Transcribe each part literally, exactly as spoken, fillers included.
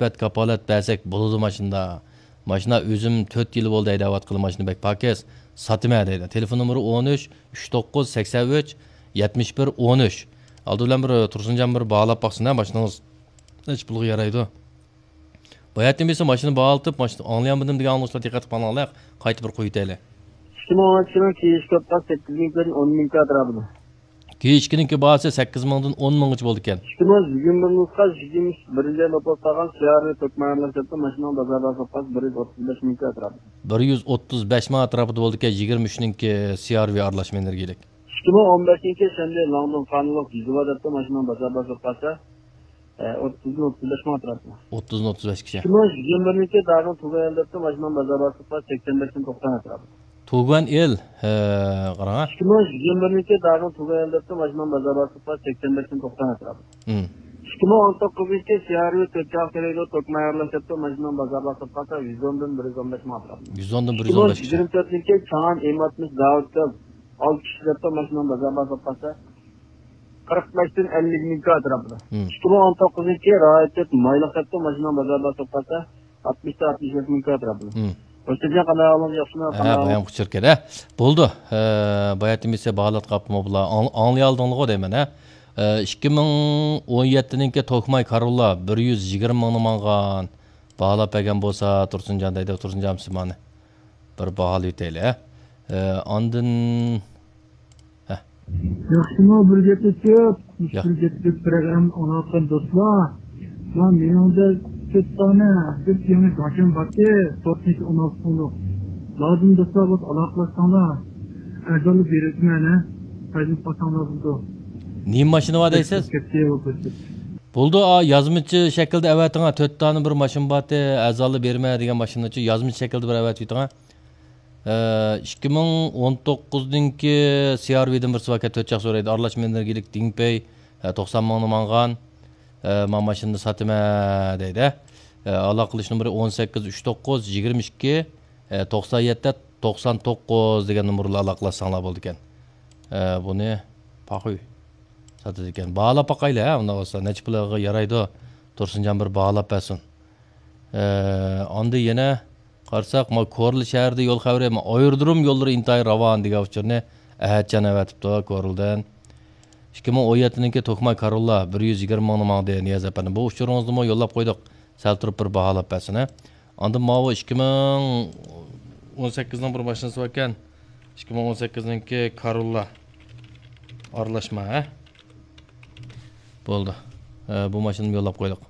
سۈپەت كاپالەت بەرسەك بولىدۇ ماشىنىدا. ماشىنا ئۆزۈم تۆت يىل بولدى ھەيدەۋاتقىلى، ماشىنا بەك پاكىز. ساتىمەن دەيدۇ. تېلېفون نومۇرى ئون ئۈچ، ئۈچ توققۇز، سەكسەن ئۈچ، يەتمىش بىر، ئون ئۈچ. ئالدى بىلەن بىر تۇرسۇنجان بىر باھالاپ باقسۇن ھە، ماشىنىڭىز نەچچە پۇلغا يارايدۇ. باياتىن بىلسە ماشىنا باھالىتىپ، ماشىنا ئاڭلىيالمىدىم دېگەن ئاڭلىغۇچىلار دىققەت قىلىپ ئاڭلاڭلار. قايتا بىر قويۇۋېتەيلى. ئىككى مىڭ ئون ئىككىنىڭ كېيىشكى ئوتقاس سەككىز مىڭ كۆيدىن ئون مىڭ كوي ئەتراپىدا. كېيىشكىنىڭكى باھاسى سەككىز مىڭدىن ئون مىڭغىچە بولىدىكەن. ئىككى مىڭ يىگىرمە بىرىنچى يىلقا يىگىرمە بىرىنچى يىل نوپۇس قالغان سىيارنى تۆكمە ئايرىلىش دەپتۇ ماشىنىنىڭ بازار باھاسى بىر يۈز ئوتتۇز بەش مىڭ كوي ئەتراپىدا. بىر يۈز ئوتتۇز بەش مىڭ ئەتراپىدا بولىدىكەن، يىگىرمە ئۈچنىڭكى سىيارۋى ئارىلاشما ئېنېرگىيىلىك. ئىككى مىڭ ئون بەشىنچى شەنبە لاڭدۇن قانۇنلۇق جىزۋا دەپتۇ ماشىنىنىڭ بازار باھاسى قالسا، ئوتتۇزدىن ئوتتۇز بەش مىڭ ئەتراپىدا. ئوتتۇزدىن ئوتتۇز بەشكىچە. ئىككى مىڭ يىگىرمە بىرىنچى داگىن تۇغيەن دەپتۇ ماشىنىنىڭ بازار باھاسى سەكسەن بەشتىن توقسان ئەتراپىدا. تۇغيەن ئېل، ھە، قاراڭ. ئىككى مىڭ يىگىرمە بىرىنچى داگىن تۇغيەن دەپتۇ ماشىنىنىڭ بازار باھاسى سەكسەن بەشتىن توقسان ئەتراپىدا. ھىم. ئىككى مىڭ ئون توققۇزىنچى سىيارۋى تۆت چاق تېرەيدۇ، توكمايەرلەش دەپتۇ ماشىنىنىڭ بازار باھاسى قالسا يۈز ئوندىن بىر يۈز ئون بەش مىڭ ئەتراپىدا. يۈز ئوندىن بىر يۈز ئون بەشكىچە. ئىككى مىڭ يىگىرمە تۆتىنچى چاڭان ئېم ئاتمىش زاۋۇت كەل ئالتە كىشى دەپتۇ ماشىنىنىڭ بازار باھاسى قالسا قىرىق بەشتىن ئەللىك مىڭ كوي ئەتراپىدا. ھىم. ئىككى مىڭ ئون توققۇزىنچى رايىت تۆت مايلىق دەپتۇ ماشىنىنىڭ بازار باھاسى قالسا ئاتمىشتىن ئاتمىش بەش مىڭ كوي ئەتراپىدا. ھىم. ئۆستەڭگە قانداق ئاڭلىدى، ياخشىمۇ؟ ھە، قانداق ئاڭلىدى؟ بايام قۇچۇر ئىكەن، ھە. بولدى. ھە، باياتىن بىلسە باھالاتقا ئاپمۇ بۇلار. ئاڭ-، ئاڭلىيالدىڭلىغۇ دەيمەن، ھە. ئىككى مىڭ ئون يەتتىنىڭكى توكماي كاروللا بىر يۈز يىگىرمە مىڭنى ماڭغان. باھالاپ بەرگەن بولسا تۇرسۇنجان دەيدۇ، تۇرسۇنجان سىمانى. بىر باھالىۋېتەيلى، ھە. ئە، ئاندىن، ھە. ياخشىمۇ، بىر گەپلىشىپ، ياق. بىر گەپلىشىپ پروگرامما ئاڭلاۋاتقان دوستلار. مانا مېنىڭدە تۆت دانە بىر يېڭى گاڭچەن بارتى، تۆت يۈز ئون ئالتە سوملۇق. لازىم دوستلار بولسا ئالاقىلاشساڭلار. ئەرزانلا بېرىۋېتىمەن، ھە. پايدىلىنىپ قالساڭلار بولىدۇ. نېمە ماشىنا بار دەيسىز؟ كەتتى، بولدى. بولدى، ئا، يازمىچە شەكىلدە ئەۋەتىڭە، تۆت دانە بىر ماشىنا بارتى، ئەرزانلا بېرىمەن دېگەن ماشىنىچۇ، يازمىچە شەكىلدە بىر ئەۋەتىۋېتىڭە. ئىككى مىڭ ئون توققۇزنىڭكى سىيارۋىدىن بىرسى باركەن، تۆت چاق سورەيدۇ. ئارىلاشما ئېنېرگىيىلىك دىڭپېي، توقسان مىڭنى ماڭغان. ما ماشىنىنى ساتىمەن دەيدۇ. ئالاقىلىشىش نومۇرى ئون سەككىز ئۈچ توققۇز يىگىرمە ئىككى، توقسان يەتتە، توقسان توققۇز دېگەن نومۇر بىلەن ئالاقىلاشساڭلار بولىدىكەن. بۇنى پاخۇي ساتىدىكەن. باھالاپ باقايلى، ھە، ئۇنداق بولسا. نەچچە پۇلغا يارايدۇ؟ تۇرسۇنجان بىر باھالاپ بەرسۇن. ئاندىن يەنە قارىساق، ما كورلا شەھىرىدە يول خەۋىرى، ما ئايرودروم يوللىرى ئىنتايىن راۋان دېگەن ئۇچۇرنى ئەھەتجان ئەۋەتىپتۇ كورلىدىن. ئىككى مىڭ ئون يەتتىنىڭكى توكماي كاروللا بىر يۈز يىگىرمە مىڭنى ماڭدى، نىياز ئەپەندى. بۇ ئۇچۇرىڭىزنىمۇ يوللاپ قويدۇق. سەل تۇرۇپ بىر باھالاپ بەرسىنە. ئاندىن ماۋۇ ئىككى مىڭ ئون سەككىزنىڭ بىر ماشىنىسى باركەن. ئىككى مىڭ ئون سەككىزنىڭكى كاروللا. ئارىلاشما، ھە؟ بولدى. ھە، بۇ ماشىنىنى يوللاپ قويدۇق.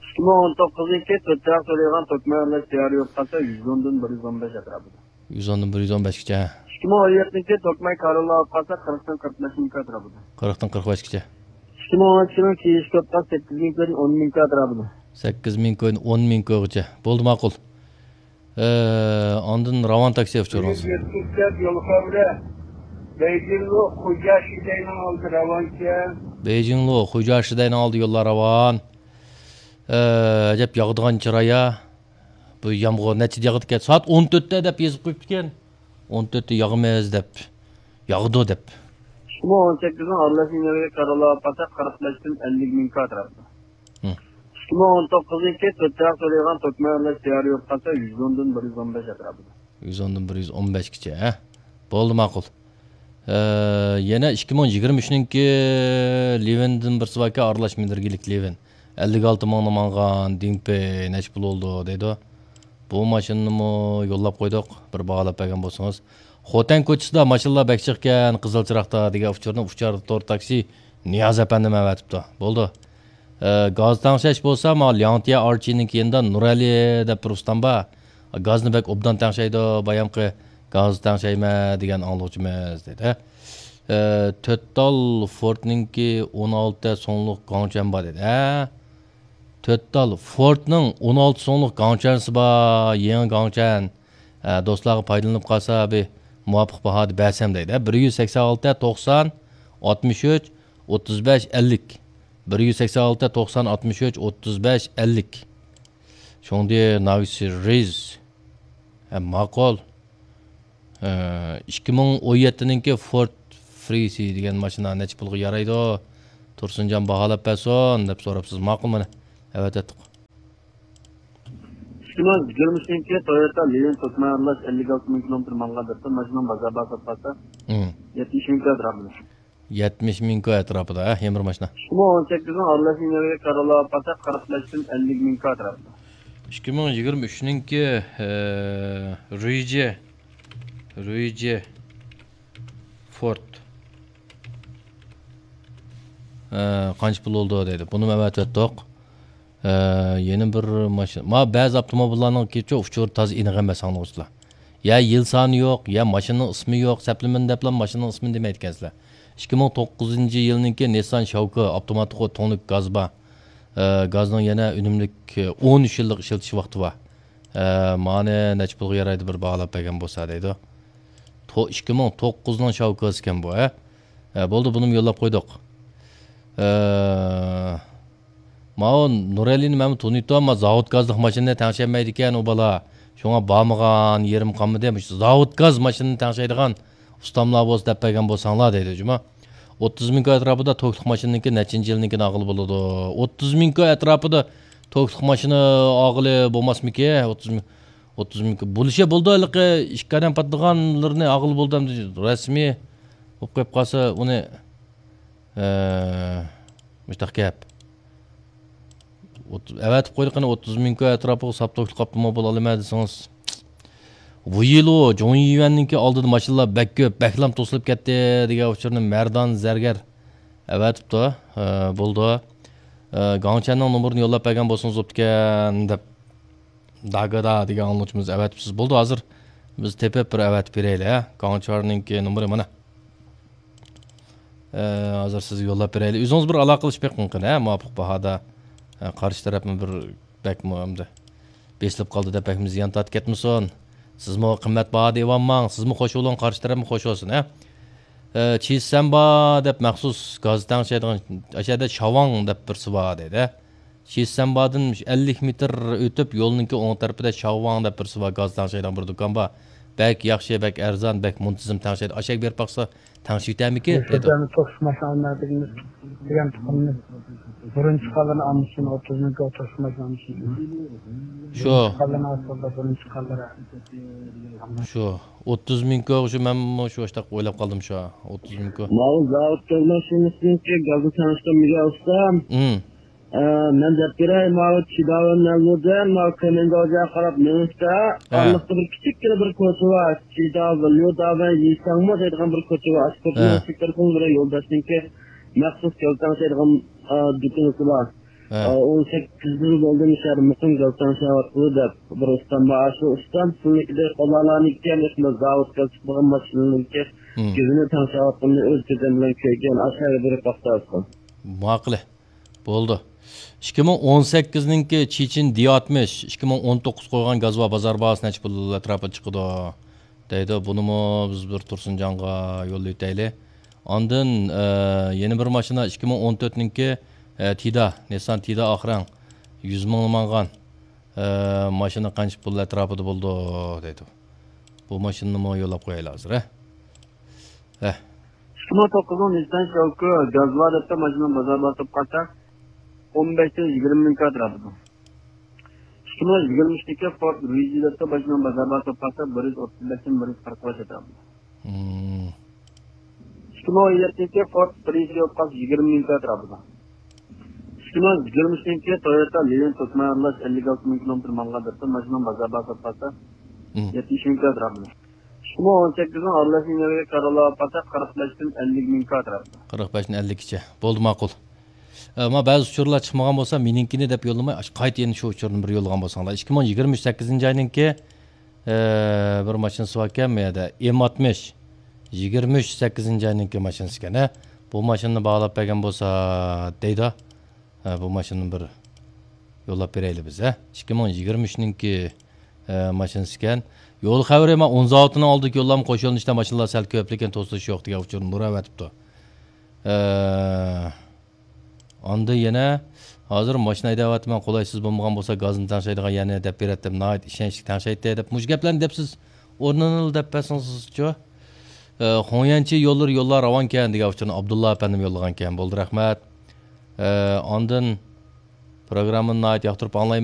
ئىككى مىڭ ئون توققۇزىنچى تۆت چاق سورىغان توكماي ئارىلاش تەييار يوق قالسا، يۈز ئوندىن بىر يۈز ئون بەش ئەتراپىدا. يۈز ئوندىن بىر يۈز ئون بەشكىچە، ھە. ئىككى مىڭ ئون يەتتىنچى توكماي كاروللا ئاپ قالسا، قىرىقتىن قىرىق بەش مىڭ ئەتراپىدا. قىرىقتىن قىرىق بەشكىچە. ئىككى مىڭ ئون ئىككىنىڭ كېيىنكى توپتا سەككىز مىڭ كويدىن ئون مىڭ كوي ئەتراپىدا. سەككىز مىڭ كويدىن ئون مىڭ كويغىچە. بولدى، ماقۇل. ئە، ئاندىن راۋان تاكسى ئۇچۇرىڭىز. يول خەۋىرى. بېيجىڭلۇ خۇجيا شىدەينىڭ ئالدى راۋانكەن. بېيجىڭلۇ خۇجيا شىدەينىڭ ئالدى يوللار راۋان. ئە، ئەجەب ياغىدىغان چىراي يا. بۇ يامغۇر نەچچىدە ياغىدىكەن؟ سائەت ئون تۆتتە دەپ يېزىپ قويۇپتىكەن. ئون تۆتتە ياغىمىز دەپ. ياغىدۇ دەپ. ئىككى مىڭ ئون سەككىزنىڭ ئارىلاش ئېنېرگىيە كاروللا ئاپ قالسا، قىرىق بەشتىن ئەللىك مىڭ كوي ئەتراپىدا. ھىم. ئىككى مىڭ ئون توققۇزىنچى تۆت چاق سورىغان توكماي ئارىلاش تەييار يوق قالسا، يۈز ئوندىن بىر يۈز ئون بەش ئەتراپىدا. يۈز ئوندىن بىر يۈز ئون بەشكىچە، ھە؟ بولدى، ماقۇل. ئە، يەنە ئىككى مىڭ يىگىرمە ئۈچنىڭكى لىۋىندىن بىرسى باركەن، ئارىلاش ئېنېرگىيىلىك لىۋىن. ئەللىك ئالتە مىڭنى ماڭغان دىڭپېي نەچچە پۇل بولىدۇ دەيدۇ. بۇ ماشىنىنىمۇ يوللاپ قويدۇق، بىر باھالاپ بەرگەن بولسىڭىز. خوتەن كوچىسىدا ماشىنىلار بەك جىقكەن، قىزىل چىراغدا دېگەن ئۇچۇرنى ئۇچار تور تاكسى نىياز ئەپەندىم ئەۋەتىپتۇ. بولدى. ئە، گاز تەڭشەش بولسا، مانا لياڭتيە ئارچىنىڭ يېنىدا نۇرئەلى دەپ بىر ئۇستام بار. گازنى بەك ئوبدان تەڭشەيدۇ، بايامقى گاز تەڭشەيمەن دېگەن ئاڭلىغۇچىمىز دېدى. ئە، تۆت تال فوردنىڭكى ئون ئالتە سوڭلۇق گاڭچەن بار دېدى. ھە؟ تۆت تال فوردنىڭ ئون ئالتە سوڭلۇق گاڭچەنسى بار، يېڭى گاڭچەن. ئە، دوستلارغا پايدىلىنىپ قالسا، بىر مۇۋاپىق باھادا بەرسەم دەيدۇ. بىر يۈز سەكسەن ئالتە، توقسان، ئاتمىش ئۈچ، ئوتتۇز بەش، ئەللىك. بىر يۈز سەكسەن ئالتە، توقسان، ئاتمىش ئۈچ، ئوتتۇز بەش، ئەللىك. شۇڭدى ناۋىسى رىز. ھە، ماقۇل. ئىككى مىڭ ئون يەتتىنىڭكى فورد فرىسى دېگەن ماشىنا نەچچە پۇلغا يارايدۇ؟ تۇرسۇنجان باھالاپ بەرسۇن دەپ سوراپسىز. ماقۇل، مانا، ئەۋەتەتتۇق. ئىككى مىڭ يىگىرمە ئۈچىنچى تويوتا لىلىن توسما ئارىلاش ئەللىك ئالتە مىڭ كىلومېتىر ماڭغان دەپتۇ، ماشىنىنىڭ بازار باھاسى سوتقانسا، مم، يەتمىش مىڭ كوي ئەتراپىدا. يەتمىش مىڭ كوي ئەتراپىدا، ھە، يەنە بىر ماشىنا. ئىككى مىڭ ئون سەككىزنىڭ ئارىلاش ئىنېرگىيە كارىلارغا پاتاق قىرىق بەشتىن ئەللىك مىڭ كوي ئەتراپىدا. ئىككى مىڭ يىگىرمە ئۈچنىڭكى، ئە، رۇيجى، رۇيجى فورد. ئە، قانچە پۇل بولدى دەيدۇ. بۇنىمۇ ئەۋەتىۋەتتۇق. ئە، يەنە بىر ماشىنا. ما بەزى ئاپتوموبىللارنىڭ كېچە ئۇچۇرى تازا ئېنىق ئەمەس، ئاڭلىغۇچىلار. يا يىل سانى يوق، يا ماشىنىنىڭ ئىسمى يوق، سەپلىمىنى دەپلا ماشىنىنىڭ ئىسمىنى دېمەيدىكەنسىلەر. ئىككى مىڭ توققۇزىنچى يىلنىڭكى نىسسان شاۋكا ئاپتوماتىك تۇڭلۇق گاز بار. ئە، گازنىڭ يەنە ئۈنۈملۈك، ئە، ئون ئۈچ يىللىق ئىشلىتىش ۋاقتى بار. ئە، مانى نەچچە پۇلغا يارايدۇ بىر باھالاپ بەرگەن بولسا دەيدۇ. تو-، ئىككى مىڭ توققۇزنىڭ شاۋكاسىكەن بۇ، ھە؟ ھە، بولدى، بۇنىمۇ يوللاپ قويدۇق. ئە، ماۋۇ نۇرەلىنى مەنمۇ تونۇيتتۇم، ئەمما زاۋۇت گازلىق ماشىنىنى تەڭشەلمەيدىكەن ئۇ بالا. شۇڭا بارمىغان يېرىم قالمىدى. مۇشۇ زاۋۇت گاز ماشىنىنى تەڭشەيدىغان ئۇستاملار بولسا دەپ بەرگەن بولساڭلار دەيدۇ جۇما. ئوتتۇز مىڭ كوي ئەتراپىدا توكلۇق ماشىنىنىڭكى نەچچىنچى يىلىنىڭكىنى ئالغىلى بولىدۇ؟ ئوتتۇز مىڭ كوي ئەتراپىدا توكلۇق ماشىنا ئالغىلى بولماسمىكى؟ ئوتتۇز مىڭ، ئوتتۇز مىڭ كوي. بولۇشى بولىدۇ، ھېلىقى ئىككى ئادەم پاتىدىغانلىرىنى ئالغىلى بولىدۇ ئەمدى. رەسمىي بولۇپ قېلىپ قالسا ئۇنى، ئە، مۇشتاق گەپ. ئوت-، ئەۋەتىپ قويدى، قېنى، ئوتتۇز مىڭ كوي ئەتراپىغا ساپ توكلۇق ئاپتوموبىل ئالىمەن دېسىڭىز. ۋۇيىلۇ، جۇڭيۈەننىڭكى ئالدىدا ماشىنىلار بەك كۆپ، بەكلام توسۇلۇپ كەتتى دېگەن ئۇچۇرنى مەردان زەرگەر ئەۋەتىپتۇ. ھە، بولدى. ھە، گاڭچەننىڭ نومۇرىنى يوللاپ بەرگەن بولسىڭىز بوپتىكەن دەپ، داگادا دېگەن ئاڭلىغۇچىمىز ئەۋەتىپسىز. بولدى، ھازىر بىز تېپىپ بىر ئەۋەتىپ بېرەيلى، ھە. گاڭچۈەننىڭكى نومۇرى مانا. ئە، ھازىر سىزگە يوللاپ بېرەيلى. ئۆزىڭىز بىر ئالاقىلىشىپ بېقىڭ قېنى، ھە، مۇۋاپىق باھادا. ئە، قارشى تەرەپمۇ بىر بەكمۇ ئەمدى بېسىلىپ قالدى دەپ بەكمۇ زىيان تارتىپ كەتمىسۇن. سىزمۇ قىممەت باھادا ئېلىۋالماڭ. سىزمۇ خوش بولۇڭ، قارشى تەرەپمۇ خوش بولسۇن، ھە. ئە، چىسەنبا دەپ مەخسۇس گاز تەڭشەيدىغان، ئەشەدە شاۋاڭ دەپ بىرسى بار دەيدۇ. شىسەنبادىن ئەللىك مېتىر ئۆتۈپ، يولنىڭكى ئوڭ تەرىپىدە شاۋۋاڭ دەپ بىرسى بار، گاز تەڭشەيدىغان بىر دۇكان بار. بەك ياخشى، بەك ئەرزان، بەك مۇنتىزىم تەڭشەيدۇ. ئاشەگە بېرىپ باقسا، تەڭشىۋېتەرمىكى؟ دېدى. توقۇش ماشىنا ئالمايدىكىنىمىز دېگەن تۇخۇمنى بىرىنچى قالىنى ئالمىشىن، ئوتتۇز مىڭ توقۇش ماشىنا ئالمىشىن. شۇ. بىرىنچى قالىنى ئالسا، بىرىنچى قالىنى. شۇ. ئوتتۇز مىڭ كوي، شۇ مەنمۇ شۇ ئاشتاق ئويلاپ قالدىم شۇ. ئوتتۇز مىڭ كوي. ماۋۇ زاۋۇت تەڭشەيدىغان ماشىنىسىنىڭكى گازنى تەڭشەيدىغان مىگە ئۇستام. ئە، مەن دەپ بېرەي، ماۋۇ چىداۋەن نەلۇدىن، ماۋۇ كۆمەنداۋجاغا قاراپ مېڭىشتا، ھە. ئارىلىقتا بىر كىچىككىنە بىر كوچا بار. چىداۋەن، ليۇداۋەن، يىساڭمۇ دەيدىغان بىر كوچا بار. ئاشۇ كوچىنىڭ ھە. ئىشىك تەرىپىدە بىر يولداشنىڭكى مەخسۇس گاز تەڭشەيدىغان، ئە، دۇكىنىسى بار. ھە. ئە، ئون سەككىز يىل بولدى مۇشۇ يەردە مۇقىم گاز تەڭشەۋاتىدۇ دەپ بىر ئۇستام بار. ئاشۇ ئۇستام سىلىنىكىدەك قوللارنىڭكى، مۇشۇنداق زاۋۇت گاز چىقىدىغان ماشىنىنىڭكى مم. گېزىنى تەڭشەۋاتقىنىنى ئۆز كۆزۈم بىلەن كۆرگەن. ئاشۇ يەرگە بېرىپ باقسا ئۇستام. ماقۇل. بولدى. ئىككى مىڭ ئون سەككىزنىڭكى چېچىن دى ئاتمىش، ئىككى مىڭ ئون توققۇز قويغان گاز بار، بازار باھاسى نەچچە پۇل ئەتراپىدا چىقىدۇ دەيدۇ. بۇنىمۇ بىز بىر تۇرسۇنجانغا يوللىۋېتەيلى. ئاندىن، ئە، يەنە بىر ماشىنا، ئىككى مىڭ ئون تۆتنىڭكى، ئە، تىدا، نىسسان تىدا ئاق رەڭ، يۈز مىڭ ماڭغان، ئە، ماشىنا قانچە پۇل ئەتراپىدا بولىدۇ دەيدۇ. بۇ ماشىنىنىمۇ يوللاپ قويايلى ھازىر، ھە؟ ھە. ئىككى مىڭ توققۇزنىڭ نىسسان شاۋكۇ گاز بار دەپتۇ، ماشىنىنىڭ بازار باھاسى سوتقانسا، ئون بەشتىن يىگىرمە مىڭ كوي ئەتراپىدا. ئىككى مىڭ يىگىرمە ئۈچتىكى فورد رۇيجى دەپتۇ، ماشىنىنىڭ بازار باھاسى سوتقانسا، بىر يۈز ئوتتۇز بەشتىن بىر يۈز قىرىق بەش ئەتراپىدا. مم. ئىككى مىڭ ئون يەتتىنچى فورد پرىسيوكاس يىگىرمە مىڭ كوي ئەتراپىدا. ئىككى مىڭ يىگىرمە ئۈچىنچى تويوتا لىلىن توسما ئارىلاش ئەللىك ئالتە مىڭ كىلومېتىر ماڭغان دەپتۇ، ماشىنىنىڭ بازار باھاسى سوتقانسا، مم. يەتمىش مىڭ كوي ئەتراپىدا. ئىككى مىڭ ئون سەككىزنىڭ ئارىلاش ئىنېرگىيە كارىلارغا پاتاق قىرىق بەشتىن ئەللىك مىڭ كوي ئەتراپىدا. قىرىق بەشتىن ئەللىككىچە. بولدى، ماقۇل. ئەمما بەزى ئۇچۇرلار چىقمىغان بولسا، مېنىڭكىنى دەپ يوللىماي، ئاش-، قايتا يەنە شۇ ئۇچۇرنى بىر يوللىغان بولساڭلار. ئىككى مىڭ يىگىرمە ئۈچ سەككىزىنچى ئاينىڭكى، ئە، بىر ماشىنىسى باركەن، بۇ يەردە ئېم ئاتمىش، يىگىرمە ئۈچ سەككىزىنچى ئاينىڭكى ماشىنىسى ئىكەن، ھە. بۇ ماشىنىنى باھالاپ بەرگەن بولسا دەيدۇ. ھە، بۇ ماشىنىنى بىر يوللاپ بېرەيلى بىز، ھە. ئىككى مىڭ يىگىرمە ئۈچنىڭكى، ئە، ماشىنىسى ئىكەن. يول خەۋىرى، مانا ئون زاۋۇتىنىڭ ئالدىدىكى يوللارمۇ قوش يۆنىلىشتە ماشىنىلار سەل كۆپ، لېكىن توسۇلۇش يوق دېگەن ئۇچۇرنى نۇر ئەۋەتىپتۇ. ئە، ئاندىن يەنە، ھازىر ماشىنا ھەيدەۋاتىمەن، قولايسىز بولمىغان بولسا گازنى تەڭشەيدىغان يەرنى دەپ بېرەتتىم، ناھايىتى ئىشەنچلىك تەڭشەيتتى دەپ مۇشۇ گەپلەرنى دەپسىز، ئورنىنىلا دەپ بەرسىڭىزچۇ؟ ئە، خۇڭيەنچى يوللىرى يوللار راۋانكەن دېگەن ئۇچۇرنى ئابدۇللا ئەپەندىم يوللىغانكەن. بولدى، رەھمەت. ئە، ئاندىن پروگراممىنى ناھايىتى ياقتۇرۇپ ئاڭلايمەن.